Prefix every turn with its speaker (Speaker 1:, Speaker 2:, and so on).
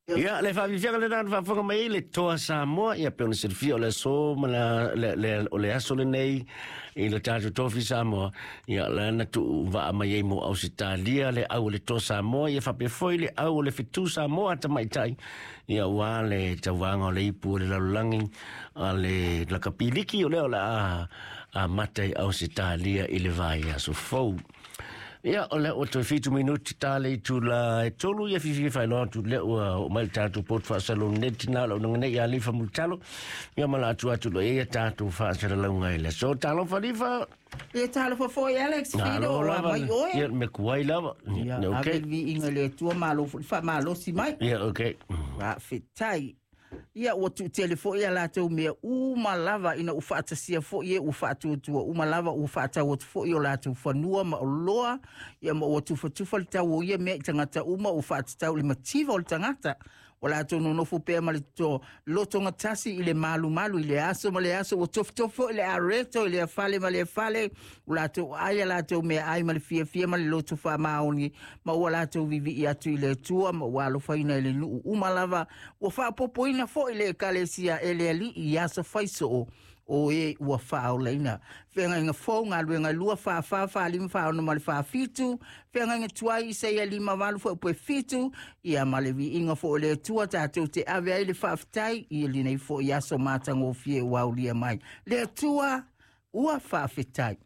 Speaker 1: Ia, le faafiafiaga lena na faafofoga mai ai le Toa Samoa, ia pei ona silafia o le aso ma le, le, o le aso lenei i le tatou Tofi Samoa, ia la na tuu vaa mai ai mo Ausetalia le au o le Toa Samoa, ia faapea foi le au o le Fetu Samoa tamaitai, ia ua le tauvaga o le ipu o le lalolagi a le lakapiliki o lea o le a amata i Ausetalia i le vaiaso fou. Ia, o lea ua toe 7 minuti ta le itula e 3, ia fiafia faailoa atu lea ua oo mai le tatou poto faasaloneti na o le aunaga nei ia Lifa Mulitalo, ia ma la atu atu loa ia tatou faasalalauga i le aso. Talofa Lifa!
Speaker 2: Ia talofa foi Alex Fido,
Speaker 1: Malo
Speaker 2: o
Speaker 1: lava.
Speaker 2: mai oe.
Speaker 1: Ia, me kuai lava.
Speaker 2: Ia,
Speaker 1: Ia,
Speaker 2: ave
Speaker 1: okay.
Speaker 2: le viiga i le Atua, malo foi le faamalosi mai.
Speaker 1: Ia, okay.
Speaker 2: Faafetai. Ia ua tuutele foi a latou mea uma lava ina ua faatasia foi e ua faatuatua uma lava ua faatau atu foi o latou fanua ma oloa, ia ma ua tufatufa le tau o ia mea i tagata uma ua faatatau i le mativa o le tagata. Ua latou nonofo pea ma le to lotogatasi i le malumalu i le aso ma le aso, ua tofutofu foi le areto i lea fale ma lea fale, ua latou ai a latou meaai ma le fiafia ma le loto faamaoni, ma ua latou vivii atu i le Atua ma ua alofaina i le nuu uma lava. Ua faapopoina foi le ekalesia e le Alii i aso faisoo o e ua faaolaina. Feagaiga fou, galuega 2, 44, 45, 46 ma le 47, feagaiga tuai Isaia 58 foi pue 7, ia ma le viiga foi o le Atua tatou te ave ai le faafetai i lenei foi aso matagofie ua aulia mai. Le Atua ua faafetai.